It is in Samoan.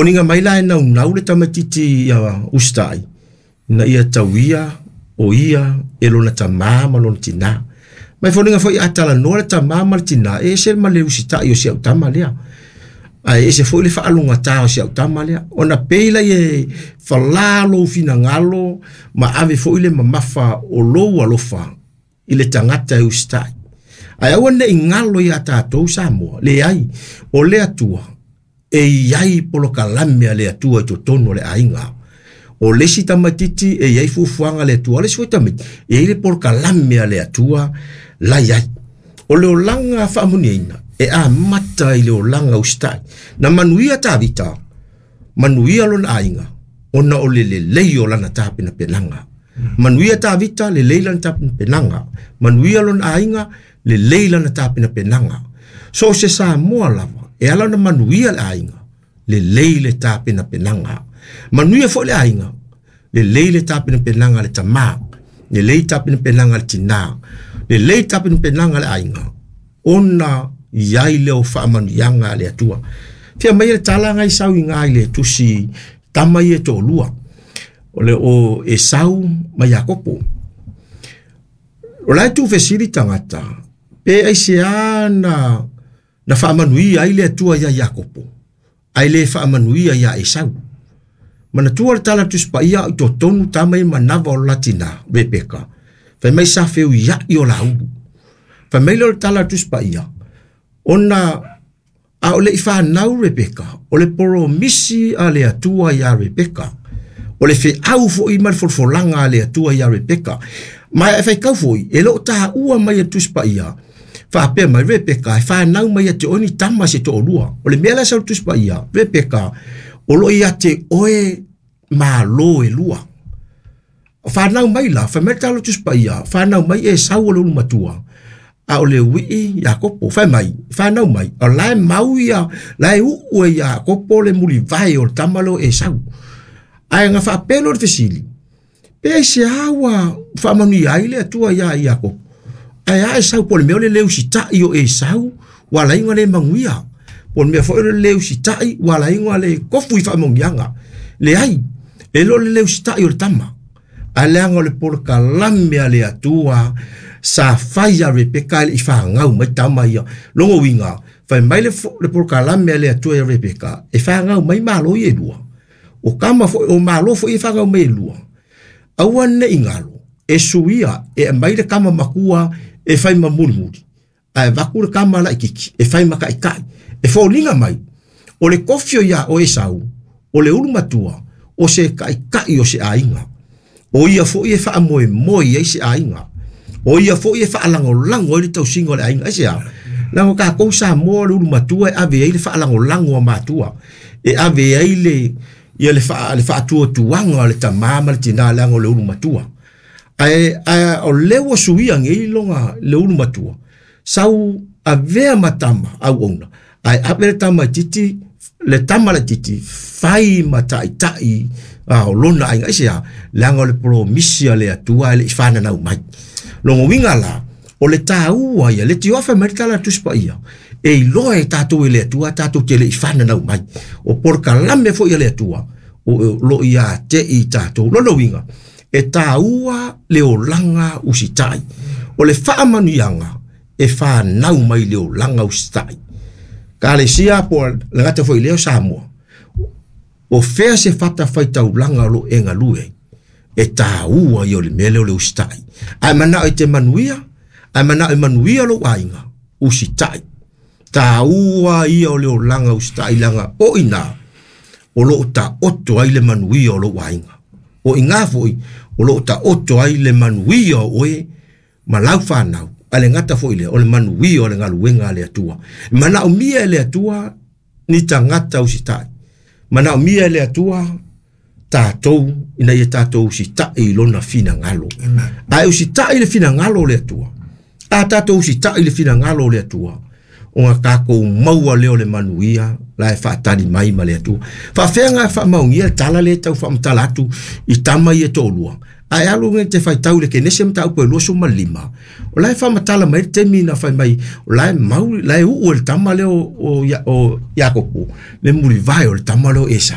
Foliga mai la e naunau le tamaitiiti ia usitai ina ia tauia o ia e lona tamā ma lona tinā. Ma e foliga foi a talanoa le tamā ma le tinā, e ese ma le usitai o si au tama lea. Ae ese foi le faalogata o si au tama lea. Ona pei lea e falā lou finagalo ma ave foi le mamafa o lou alofa i le tagata e usitai. Ae aua ne i galo iā tatou Samoa, leai, o le Atua e i ai polokalame a le Atua i totonu o le aiga. O le isi tamaitiiti e i ai fuafuaga a le Atua, o le isi foi tamaiti e i ai le polokalame a le Atua la i ai. O le olaga faamanuiaina e amata i le olaga usitai. Na manuia Tavita, manuia lona aiga, ona o le lelei o lana tapenapenaga. Manuia Tavita, lelei lana tapenapenaga. Manuia lona aiga, lelei lana tapenapenaga. So o se Samoa lava, e ala ona manuia le aiga, lelei le tapenapenaga. Manuia foi le aiga, lelei le tapenapenaga a le tamā, lelei tapenapenaga a le tinā, lelei tapenapenaga a le aiga, ona i ai lea o faamanuiaga a le Atua. Fia aumai le tala na i sau i ina i le tusi tama ia e toalua, o le o Esau ma Iakopo. O la e tuufesili tagata, pe aisea na faamanuia ai le Atua ia Iakopo, ae le faamanuia ia Esau. Manatua le tala a le Tusi Paia i totonu tama ia manava o le la tinā, Rebeka, fai mai sa feuiai o laulu. Fai mai lea o le tala a le Tusi Paia, ona a o le i fanau Rebeka, o le polomisi a le Atua iā Rebeka, o le feau foi ma le folafolaga a le Atua iā Rebeka. Ma e faitau foi, e le o taua mai e le Tusi Paia, faapea mai Rebeka e fanau mai ia te oe ni tama se toalua. O le mea la e sau i le Tusi Paia, Rebeka, o lo o ia te oe malo e lua. Fanau mai la, fai mai le tala o le Tusi Paia, fanau mai Esau o le ulu matua, a o le uii Iakopo. Fai mai, fanau mai, o la e mau ia, la e uu e Iakopo le mulivae o le tama lea o Esau. Ae na faapea loa le fesili, pe aisea ua faamanuia ai le Atua iā Iakopo? Ae a Esau, po o le mea o le le usitai o Esau ua ala ai ona le manuia. Po o le mea foi o le le usitai ua ala ai ona le kofu i faamanuiaga. Leai, e le o le le usitai o le tama, ae leaga o le polokalame a le Atua sa fai ia Rebeka e le i fanau mai tama ia. Lona uiga, fai mai le polokalame a le Atua ia Rebeka, e fanau mai malo ia e lua. O tama foi, o malo foi e fanau mai e lua. Aua ne i galo, e suia, e aumai le tama matua e fai ma mulimuli, ae avatu le tama laitiiti e fai ma taitai. E foliga mai, o le tofi o ia o Esau, o le ulu matua, o se taitai o se aiga. O ia foi e faamoemoe ai se aiga. O ia foi e faalagolago ai le tausiga o le aiga. Aisea? Leaga o tatou Samoa o le ulu matua e ave ai le faalagolago a matua. E ave ai le ia le le faatuatuaga o le tamā ma le tinā leaga o le ulu matua. Ae ae o lea ua suia nei lona le ulu matua, sau avea ma tama auauna, ae ave le tama itiiti, le tama laitiiti fai ma taitai o lona aiga. Aisea? Leaga o le polomisi a le Atua e le i fananau mai. Lona uiga la, o le taua ia, le tioa fai mai le tala a le Tusi Paia, e iloa e tatou e le Atua tatou te le i fananau mai. O polokalame foi a le Atua, o lo o ia te i tatou. Lona uiga, e taua le olaga usitai. O le faamanuiaga e fanau mai le olaga usitai. Kalesia po o le gata foi lea o Samoa, o fea se fatafaitaulaga o lo o e galue ai, e taua ia o le mea lea o le usitai. Ae manao e te manuia, ae manao e manuia lou aiga, usitai. Taua ia o le olaga usitai leaga o i ina o lo o taoto ai le manuia o lou aiga. O i ina foi o lo o taoto ai le manuia o oe ma lau fanau, ae le gata foi lea o le manuia o le galuega a le Atua. E manaomia e le Atua ni tagata usitai. Manaomia e le Atua tatou ina ia tatou usitai i lona finagalo. Ae usitai i le finagalo o le Atua. A tatou usitai i le finagalo o le Atua, ona tatou maua lea o le manuia la e faatali mai ma le Atua. Faafefea ona faamaonia le tala lea e tau faamatala atu i tama ia e toalua? Ae alu e te faitau i le Kenese mataupu e 25, o la e faamatala mai le taimi na fai mai, o la e mau, la e uu e le tama lea o Iakopo, le mulivae o le tama lea o Esau.